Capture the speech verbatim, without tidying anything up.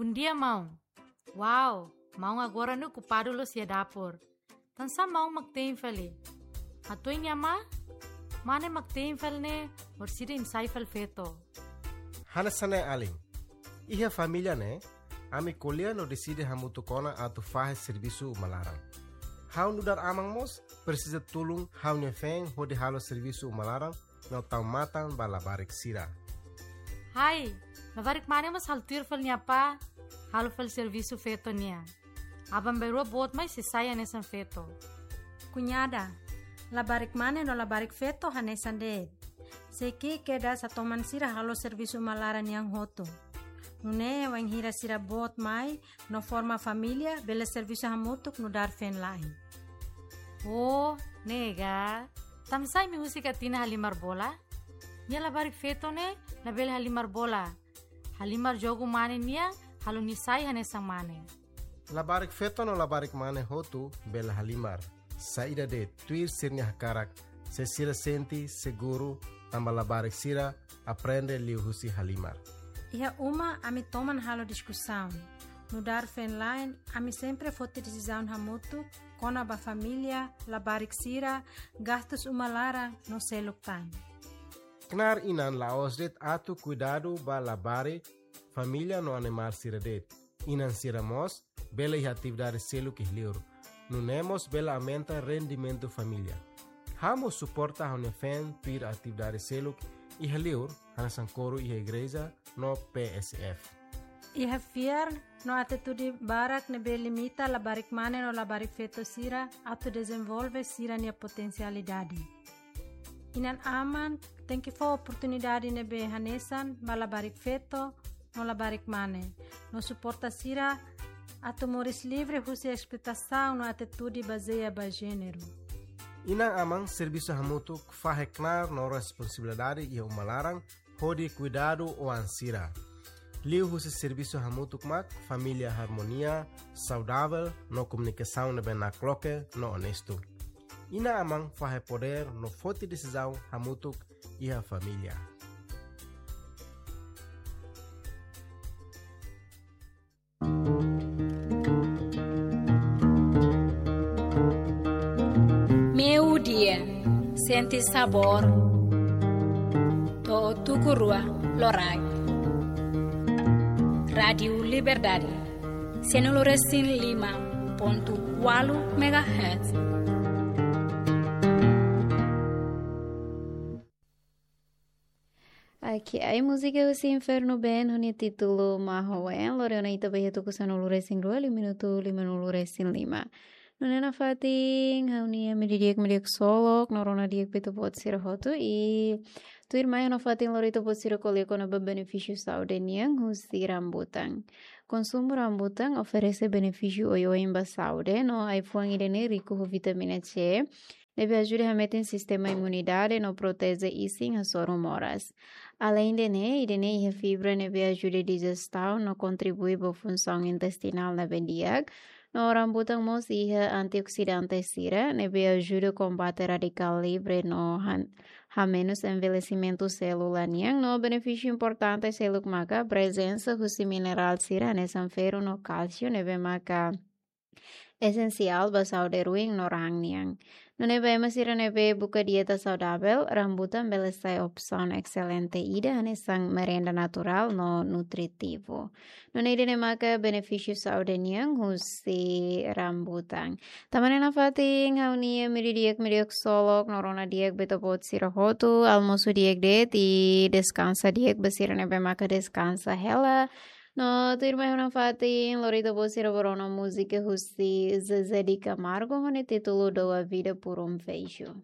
Bondia, maun. Wow, maun agora ne'e okupadu loos iha dapur. Tansá maun mak te'in fali? Hato'o nia mane, mane mak te'in fali ne'e, orsida imi sai fali feto. Hanesan ne'e alin. Iha família ne'e, ami ko'alia no deside hamutuk ona atu fahe servisu uma laran. Ha'u nu'udar aman mós presiza tulun ha'u-nia feen hodi halo servisu uma laran no tau matan ba labarik sira. Hai, labarik mane mós halo tuir fali nia apá, halo fali servisu feto nian. Aban-bainrua boot mai sei sai hanesan feto. Kuñada, labarik mane no labarik feto hanesan de'it. Sei ki'ik kedas hatoman sira halo servisu uma laran nian hotu. Nune'e wainhira sira boot mai no forma família, bele servisu hamutuk nu'udar feen-la'en. Oh, ne'e ka. Tansá imi husik Atina halimar bola? Nia labarik feto ne'e labele halimar bola. Halimar jogu mane nian, halo nia sai hanesan mane. Labarik feto no labarik mane hotu bele halimar. Saida de'it, tuir sira-nia hakarak, se sira sente seguru, tanba labarik sira aprende liuhusi halimar. Iha uma ami toman halo diskusaun. Nu'udar feen-la'en, ami sempre foti desizaun hamutuk kona-ba família, labarik sira, gastus uma laran no seluk tan. Knaar inan la'ós de'it atu kuidadu ba labarik, família no animál sira de'it. Inan sira mós bele iha atividade seluk iha liur. Nune'e mós bele aumenta rendimentu família. Ha'u mós suporta ha'u-nia feen tuir atividade seluk iha liur, hanesan koru iha igreja no P S F. Iha fiar no atitude barak ne'ebé limita labarik mane no labarik feto sira atu dezenvolve sira-nia potensialidade. Inan-aman tenke fó oportunidade ne'ebé hanesan ba labarik feto no labarik mane, no suporta sira atu moris livre husi esploitasaun no atitude bazeia ba jéneru. Inan-aman servisu hamutuk fahe knaar no responsabilidade iha uma laran hodi kuidadu oan sira. Liuhusi servisu hamutuk mak família harmonia, saudavel no komunikasaun ne'ebé nakloke no onestu. Inan-aman fahe podér no foti desizaun hamutuk iha família. Meiudia, sente sabór, to'o tuku rua loraik. Rádiu Liberdade, sanulu-resin-lima pontu ualu megahertz. Oke, ai múzika husi Inferno Band ho nia títulu Mahoen, lori ona ita ba iha tuku sanulu-resin-rua, liu minutu limanulu-resin-lima. Nune'e nafatin, ha'u-nia imi di'ak, imi di'ak ksolok, no rona di'ak ba ita-boot sira hotu, i tuirmai ha'u nafatin lori ita-boot sira ko'alia kona-ba benefísiu saúde nian husi rambutan. Konsumu rambutan oferese benefísiu oioin ba saúde, no ai-fuan ida-ne'e riku ho vitamina C, ne'ebé ajuda hametin sistema imunidade no proteje isin hasoru moras. Aleinde ne'e, ida-ne'e iha fibra ne'ebé ajuda dijestion no kontribui ba funsaun intestinál ne'ebé di'ak. No rambutan mós iha antioksidante sira, ne'ebé ajuda kombate radikál livre no han-, hamenus envelhesimentu sélula nian. No benefísiu importante seluk maka prezensa husi minerál sira hanesan ferru no kálsiu ne'ebé maka esensiál ba saúde ruin no raan nian. Nune'e ba ema sira ne'ebé buka dieta saudavel, rambutan bele sai opsaun excelente ida hanesan merenda naturál no nutritivu. Nune'e ida-ne'e maka benefísiu saúde nian husi rambutan. Tanba ne'e nafatin ha'u-nia imi di'ak, imi di'ak ksolok, no rona di'ak ba ita-boot sira hotu, almosu di'ak de'it, i deskansa di'ak ba sira ne'ebé maka deskansa hela. No tuirmai ha'u nafatin lori ita-boot sira ba rona múzika husi Zezé de Camargo ho nia títulu Dou a Vida por um Beijo.